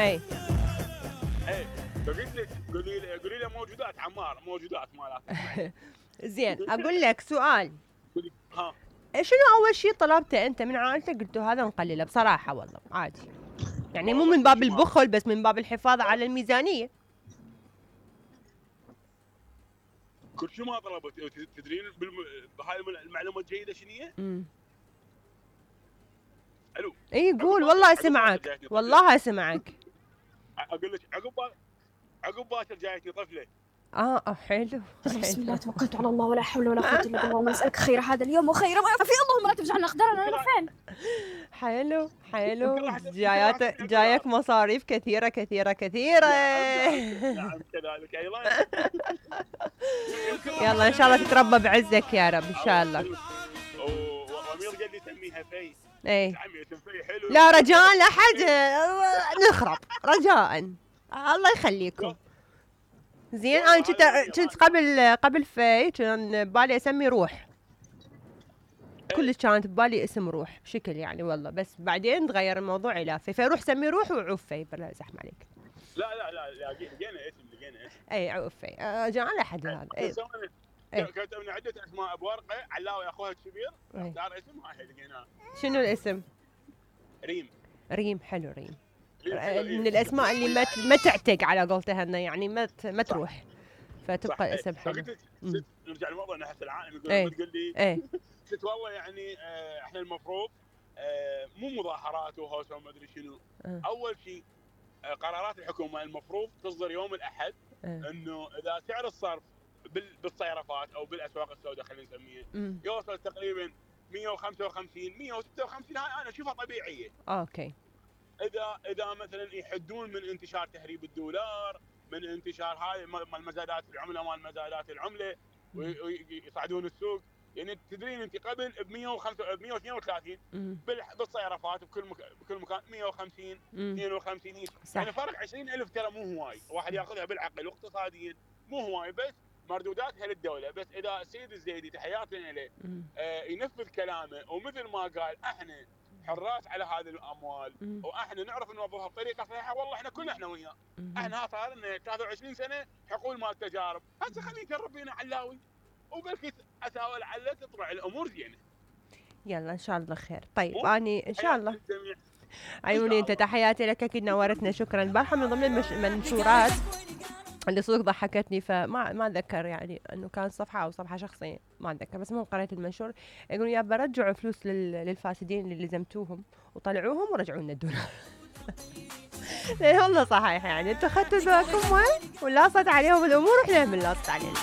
اي اي فقلت لك قولي له موجودات عمار، موجودات مالات. زين اقول لك سؤال، ها شنو اول شيء طلبته انت من عائلتك قلتوا هذا نقلله بصراحه والله عادي، يعني مو من باب البخل بس من باب الحفاظ على الميزانيه؟ كل شيء ما طلبت. تدرين بهاي المعلومه الجيده شنو هي؟ الو اي قول والله اسمعك، والله اسمعك. اقول لك عقب باكر جايتني طفله. حلو. بسم الله توكلت على الله ولا حول ولا قوه الا بالله، اللهم نسالك خير هذا اليوم وخير ما في، اللهم لا تجعلنا اقدارنا انا فين. حلو جايك مصاريف كثيره كثيره كثيره. نعم كذلك ايضا. يلا ان شاء الله تتربى بعزك يا رب ان شاء الله. وامير قال لي سميها في. اي عمي اسم في حلو. لا رجاء لا حد نخرب رجاء، الله يخليكم. زين انا كنت قبل في كان ببالي اسمي روح، كلش كانت ببالي اسم روح بشكل يعني والله، بس بعدين تغير الموضوع الى في، فروح سمي روح وعوف في بلا زحمه عليك. لا لقينا اسم. اي عوف في جعل احد هذا. كتبنا عده اسماء بورقه، علاوي اخوها الكبير اختار اسم هاي لقيناه. شنو الاسم؟ ريم حلو. ريم من الاسماء اللي ما تعتق على قولتها انه يعني ما تروح، فتبقى اسم حلو. نرجع للموضوع انه هسه العائله تقول لي قلت والله يعني احنا المفروض مو مظاهرات وهوسه وما ادري شنو. اول شيء قرارات الحكومه المفروض تصدر يوم الاحد، انه اذا سعر الصرف بالصيرفات او بالاسواق السوداء خلينا نسميها يوصل تقريبا 155 156، هاي انا اشوفها طبيعيه. اوكي. اذا مثلا يحدون من انتشار تهريب الدولار، من انتشار هاي مال مزادات العمله ويصعدون السوق. يعني تدرين انت قبل ب 132 بالصيرفات بكل مكان 150 52 يعني فرق 20,000 ترى مو هواي، واحد ياخذها بالعقل واقتصاديا مو هواي، بس مردوداتها للدوله. بس اذا السيد الزيدي تحياتنا له ينفذ كلامه، ومثل ما قال احنا حراس على هذه الاموال واحنا نعرف نوظفها بطريقه صحيحه، والله احنا كلنا احنا وياه. احنا صار لنا 23 سنه حقول مال تجارب، هسه خلينا نجرب بينا علاوي وبلكي اساوي لعله تطلع الامور زينه. يلا ان شاء الله خير. طيب اني ان شاء الله عيوني انت تحياتي لك، اكيد نورتنا شكرا. البارحه من ضمن المنشورات اللي صدق ضحكتني، فما اتذكر يعني انه كان صفحه او صفحه شخصيه ما اتذكر، بس المهم قريت المنشور يقولون يا برجعوا فلوس للفاسدين اللي لزمتوهم وطلعوهم ورجعوا لنا الدولار. والله صحيح يعني انتوا اخذتوا ذوقكم وين ولاصت عليهم الامور واحنا من لاصت علينا.